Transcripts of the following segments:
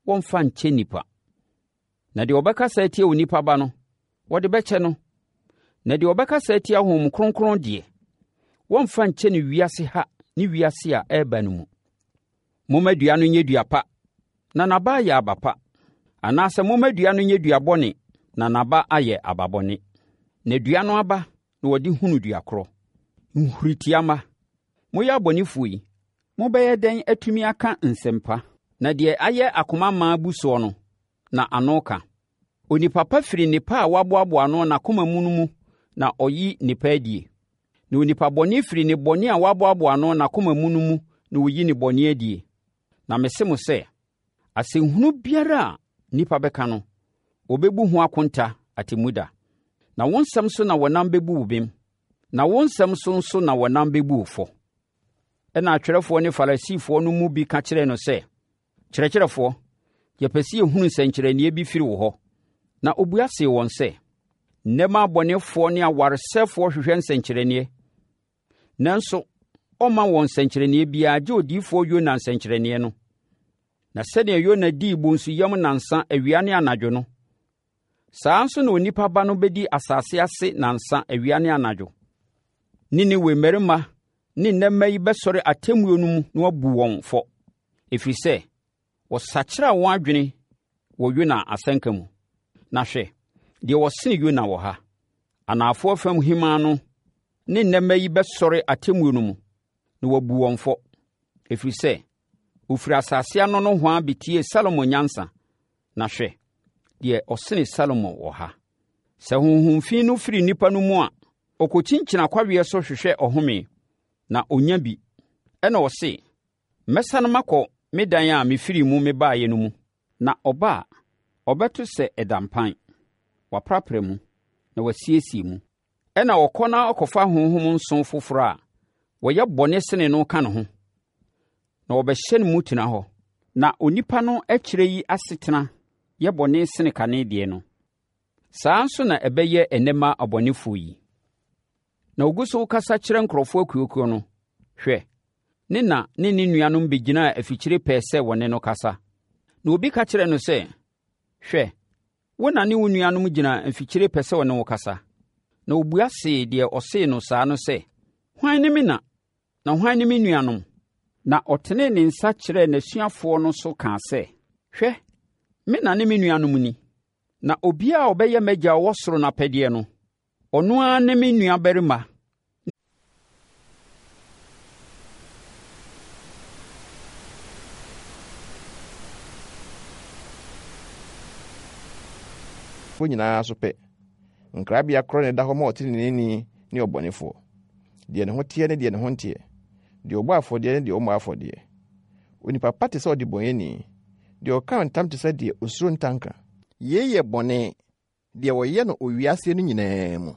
wɔmfa nkyɛ nnipa. Na deɛ ɔbɛkasa atia Onipa Ba no, wɔde bɛkyɛ no. Na deɛ ɔbɛkasa atia Honhom Kronkron deɛ, wɔmfa nkyɛ no wiase ha ne wiase a ɛreba no mu. Momma dua no nyɛ dua pa, na n'aba ayɛ aba pa, anaasɛ momma dua no nyɛ dua bɔne, na n'aba ayɛ aba bɔne. Na dua no aba na wɔde hunu dua korɔ. Nhuritia mma, moyɛ abɔnefoɔ yi, mobɛyɛ dɛn atumi aka nsɛm pa? Na deɛ ayɛ akoma ma abu soɔ no, na ano ka. Onipa pa firi nnepa a waboaboa ano n'akoma mu no mu na ɔyi nnepa adie. Na onipa bɔne firi ne bɔne a waboaboa ano n'akoma mu no mu na ɔyi ne bɔne adie. Na mese mo sɛ, asɛnhunu biara a nnipa bɛka no, wɔbɛbu ho akonta atemmuda. Na wo nsɛm so na wɔnam bɛbu wo bem, na wo nsɛm so nso na wɔnam bɛbu wo fɔ. Ɛnna atwerɛfoɔ ne Farisifoɔ no mu bi ka kyerɛɛ no sɛ, Kyerɛkyerɛfoɔ, yɛpɛ sɛ yɛhunu nsɛnkyerɛnneɛ bi firi wo hɔ. Na ɔbua see wɔn sɛ, Nnɛ mma abɔnefoɔ ne awaresɛefoɔ hwehwɛ nsɛnkyerɛnneɛ, nanso ɔmma wɔn nsɛnkyerɛnneɛ biara gye odiyifoɔ Yona nsɛnkyerɛnneɛ no. Na sɛdeɛ Yona dii bonsu yam nnansa awia ne anadwo no, saa ara nso na Onipa Ba no bɛdi asase ase nnansa awia ne anadwo. Ninewe mmarima ne nnɛ mma yi bɛsɔre atemmuo no mu na wɔabu wɔn fɔ, ɛfiri sɛ wɔsakyeraa wɔn adwene wɔ Yona asɛnka mu. Na hwɛ, deɛ ɔsene Yona wɔ ha. Anaafoɔ fam hemmaa no ne nnɛ mma yi bɛsɔre atemmuo no mu na wɔabu wɔn fɔ, ɛfiri sɛ wɔfiri asase ano nohoa bɛtiee Salomo nyansa. Na hwɛ, deɛ ɔsene Salomo wɔ ha. Sɛ honhom fi no firi nnipa no mu a, ɔkɔkyinkyini akwaweɛ so hwehwɛ ɔhome, na ɔnya bi. Ɛnna ɔse, 'Mɛsane makɔ me dan a mefirii mu mebaeɛ no mu. Na ɔba a, ɔbɛto sɛ ɛda mpan, wɔaprapra mu, na wɔasiesie mu. Ɛnna ɔkɔ na ɔkɔfa ahonhom nson foforɔ a wɔyɛ bɔne sene no ka ne ho, na wɔbɛhyɛ ne mu tena hɔ. Na onipa no akyire yi asetena yɛ bɔne sene kane deɛ no. Saa ara nso na ɛbɛyɛ ɛnnɛ mma abɔnefoɔ yi. Na ɔgu so rekasa kyerɛ nkurɔfoɔ akuakuo no, hwɛ, ne na ne ne nuanom bɛgyinaa afikyire pɛɛ sɛ wɔne no kasa. Na obi ka kyerɛɛ no sɛ, Hwɛ, wo na ne wo nuanom gyina mfikyire pɛ sɛ wɔne wo kasa. Na ɔbua see deɛ ɔsee no saa no sɛ, Hwan ne me na, na hwan ne me nuanom? Na ɔtenee ne nsa kyerɛɛ n'asuafoɔ no so kaa sɛ, Hwɛ, me na ne me nuanom ni. Na obiara a ɔbɛyɛ m'Agya a ɔwɔ soro no apɛdeɛ no, ɔno ara ne me nuabarima Foɔ nyinaa so pɛ. Nkrabea korɔ na ɛda hɔ ma ɔteneneeni ne ɔbɔnefoɔ, deɛ ne ho teɛ ne deɛ ne ho nteɛ, deɛ ɔbɔ afɔdeɛ ne deɛ ɔmmɔ afɔdeɛ. Onipa pa te sɛ ɔdebɔneyɛni, deɛ ɔka ntam te sɛ deɛ osuro ntanka. Yei yɛ bɔne, deɛ wɔyɛ no owiaseɛ no nyinaa mu.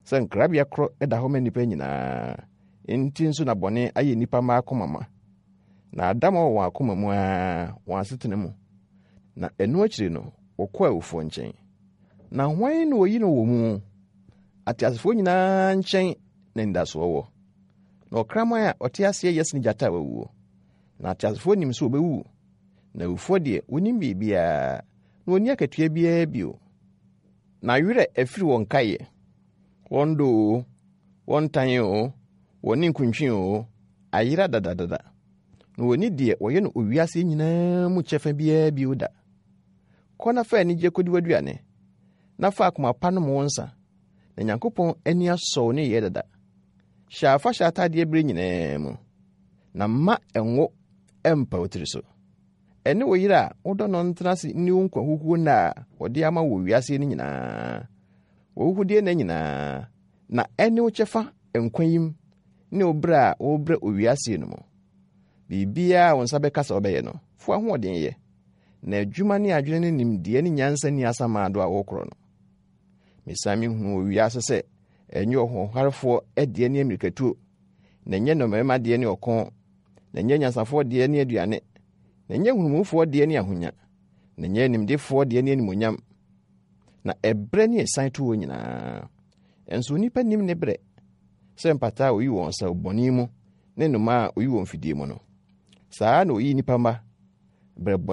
Sɛ nkrabea korɔ da hɔ ma nnipa nyinaa, enti nso na bɔne ayɛ nnipa mma akoma ma, na adammɔ wɔ wɔn akoma mu ara, wɔn asetena mu, na ɛno akyiri no, wɔkɔ awufoɔ nkyɛn. Na hwan na wɔyi no wɔ mu? Ateasefoɔ nyinaa nkyɛn na anidasoɔ wɔ. Na ɔkraman a ɔte aseɛ yɛ sene gyata a wawuo. Na ateasefoɔ nim sɛ wɔbɛwu, na awufoɔ deɛ, wɔnnim biribiara, na wɔnni akatua biara bio. Na werɛ afiri wɔn nkaeɛ, wɔn dɔ oo, wɔn tan oo, wɔn ninkuntwe oo, ayera dadadada. Na wɔnni deɛ wɔyɛ no owiase nyinaa mu kyɛfa biara bio da. Kɔ na fa anigyeɛ kɔdi w'aduane, na fa akoma pa nom wo nsa, na Nyankopɔn ani asɔ wo nneyɛɛ dada. Hyɛ afahyɛ atadeɛ berɛ nyinaa mu, na mma ngo mpa wo tiri so. Ɛne wo yere a wodɔ no ntena ase nni wo nkwa huhuo nna a wɔde ama wo wɔ wiase no nyinaa, w'ahuhudeɛ nna nyinaa, na ɛne wo kyɛfa nkwa yim ne wo berɛ a worebrɛ owiaseɛ no mu. Biribiara a wo nsa bɛka sɛ wobɛyɛ no, fa w'ahoɔden yɛ, na adwuma ne adwene ne nimdeɛ ne nyansa nni asamando a worekorɔ no. Mesan mehunuu wɔ wiase sɛ ɛnyɛ ɔhoɔharefoɔ deɛ ne ammirikatuo, na ɛnyɛ nnɔmmarima deɛ ne ɔko, na ɛnyɛ anyansafoɔ deɛ ne aduane, na ɛnyɛ nhunumufoɔ deɛ ne ahonya, na ɛnyɛ animdefoɔ deɛ ne animuonyam. Na ɛberɛ ne ɛsan to wɔn nyinaa. Nso onipa nim ne berɛ, sɛ mpataa a oyi wɔn sɛ bɔne mu ne nnomaa a oyi wɔn fidie mu no. Saa na oyi nnipa mma berɛ bɔne.